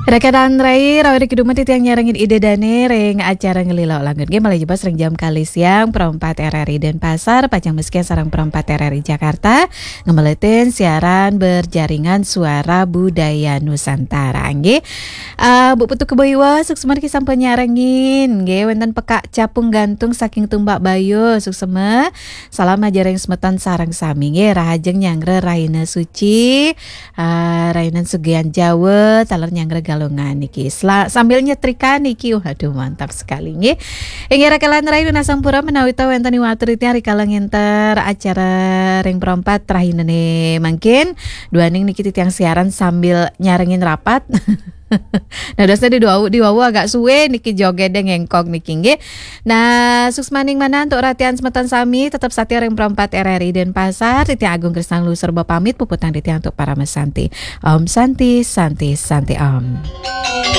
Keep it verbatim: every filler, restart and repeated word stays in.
Rekan rai, rawuh ri kidumeh titiang nyarengin Ida Dane ring acara Ngelila Langun. Nggih, malih jebos ring jam kalih siang, Pro empat R R I Denpasar, pacang masikian sareng Pro empat R R I Jakarta, ngemeletin siaran berjaringan Suara Budaya Nusantara. Nggih. Ah, Bu Putu Kebo Iwa, suksma niki sampun nyarengin. Nggih, wenten Pekak Capung Gantung saking Tumbakbaya, suksma. Salam aja ring semeton sareng sami. Nggih, rahajeng nyanggra rahina suci. Ah, rainan sugihan Jawa, taler nyanggra Galungan niki. Sela-, sambil nyetrika niki, waduh, mantap sekali nggih. Inggih, rekan rai, nunas sampura menawi ta wenten watur titiang rikala ngenter acara ring Pro empat rahinane mangkin. Duaning niki titiang siaran sambil nyarengin rapat. Nah, dasnya di dua, di wawu agak suwe niki jogede ngengkong niki nggih. Nah, suksmaning manah antuk ratian semeton sami, tetep satia ring Pro empat R R I Denpasar, titiang Agung Krisna Lusur bapamit, puputang titiang antuk parama santi. Om Santi, Santi, Santi Om.